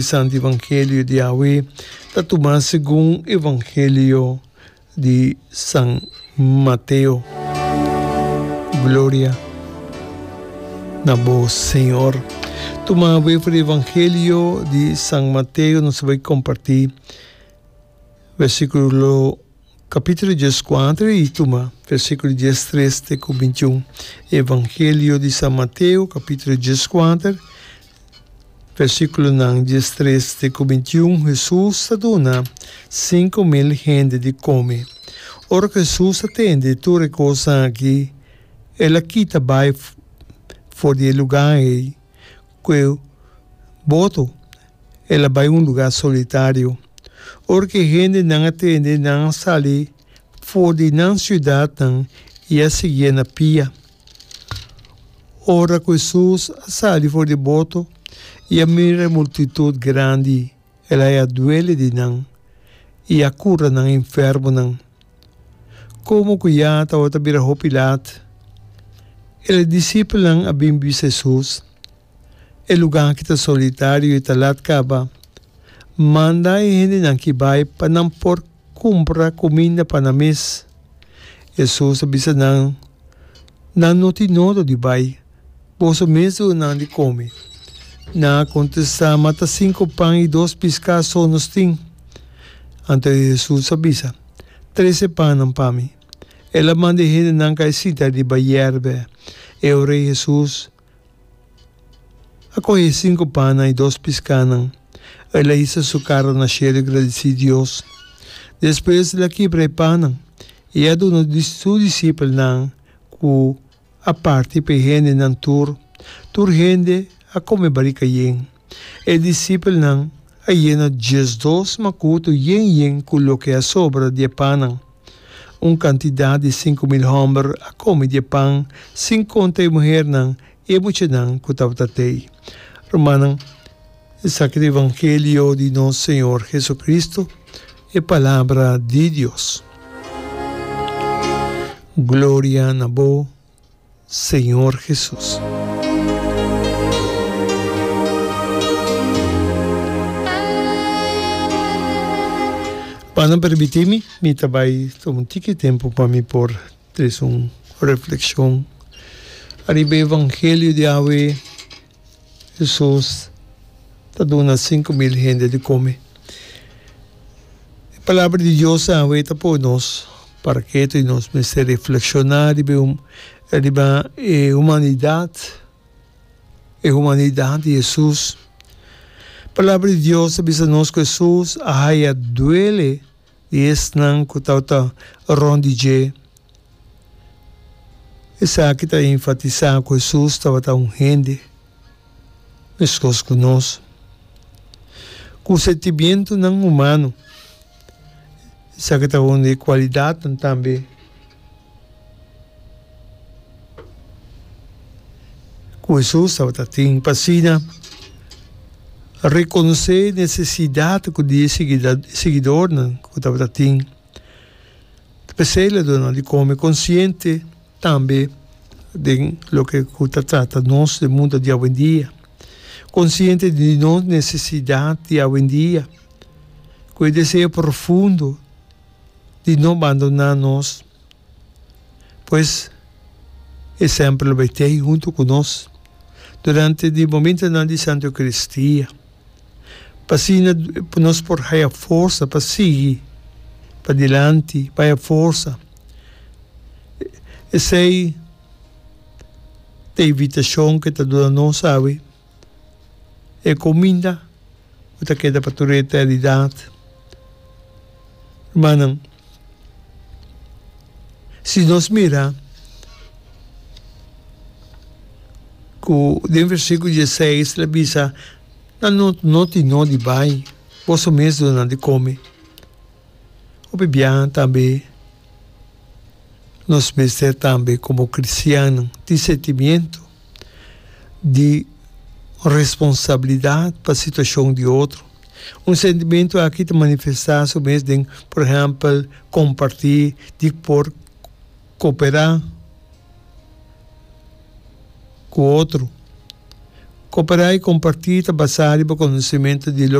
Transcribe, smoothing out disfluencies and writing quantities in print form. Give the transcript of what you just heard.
Santo Evangelio di awe ta tuma segun Evangelio di San Mateo. Gloria na bo Señor. Tuma awe for di Evangelio di San Mateo nos ta bai comparti versiculo capítulo dieskuater y tuma versiculo diestres te cu bintiun. Evangelio di San Mateo capítulo dieskuater. Versíkulonan diestres te ku bintiun, Hesus ta duna 5000 hende di kome. Ora ku Hesus a tende tur e kosnan akí, el a kita bai for di e lugá ei ku e boto, el a bai un lugá solitario. Ora ku e hendenan a tende, nan a sali for di nan siudatnan i a siguié na pia. Ora ku Hesus a sali for di boto i a mira e multitut grandi, el a haña duele di nan i a kura nan enfermonan. Komo ku ya tabata bira hopi lat, e disipelnan a bin bisa Hesus, E lugá aki ta solitario i ta lat kaba. Manda e hendenan ki bai pa nan por kumpra kuminda pa nan mes. Hesus a bisa nan, Nan no tin nodo di bai, boso mes duna nan di kome. Nan a kontestá, Ma ta sinku pan i dos piská so nos tin. Anto Hesus a bisa, Trese pannan pa mi. El a manda e hendenan kai sinta riba yèrbè. E ora ei Hesus a kohe e sinku pannan i dos piskánan. El a hisa su kara na shelu i gradisí Dios. Despues el a kibra e pannan i a duna su disipelnan ku a parti pa e hendenan tur. Tur hende a kome barika yen. E disipelnan a yena diesdos makutu yen yen ku loke a sobra di e pannan. Un kantidat di 5000 hòmber a kome di e pan, sin konta e muhernan i e muchanan ku tabata tei. Rumannan, esaki ta evangelio di nos Señor Jesucristo, e palabra di Dios. Gloria na bo, Señor Jesus. Pa nan permití mi, mi ta bai tuma un tiki tempu pa mi por trese un reflexion ariba e evangelio di awe. Hesus ta duna 5000 hende di kome. E palabra di Dios awe ta pone nos para ketu i nos mester reflekshoná riba riba e humanidat, e humanidat di Hesus. Palabra di Dios ta bisa nos ku Hesus a haya duele di esnan ku tabata rònt di dje. Esaki ta enfatisá ku Hesus tabata un hende meskos ku nos, ku sentimientonan humano. Esaki ta un di e kualidatnan tambe ku Hesus tabata tin pa asina rekonosé e nesesidat ku di e siguidornan ku tabata tin. Ta p'esei el a duna di kome konsiente tambe den loke ku ta trata nos den mundu di awendia, konsiente di nos nesesidat di awendia, ku e deseo profundo di no bandoná nos. Pues, e semper lo bai tei huntu ku nos durante di momentonan di Santu Eukaristia, pa asina nos por haya forsa pa sigui padilanti, pa haya forsa. Esei ta e invitashon ku e ta duna nos awe. E kuminda ku ta keda pa tur eternidat. Rumannan, si nos mira ku den versíkulo dieseis el a bisa, Nan no no tin no di bai, boso mes duna nan di kome. Hopi biaha tambe nos mester tambe komo kristiannan tin sentimiento di responsabilidat pa situashon di otro. Un sentimentu aki ta manifestá su mes den, por ehèmpel, kompartí di por koperá ku otro. Koperá i kompartí ta basá riba konosementu di.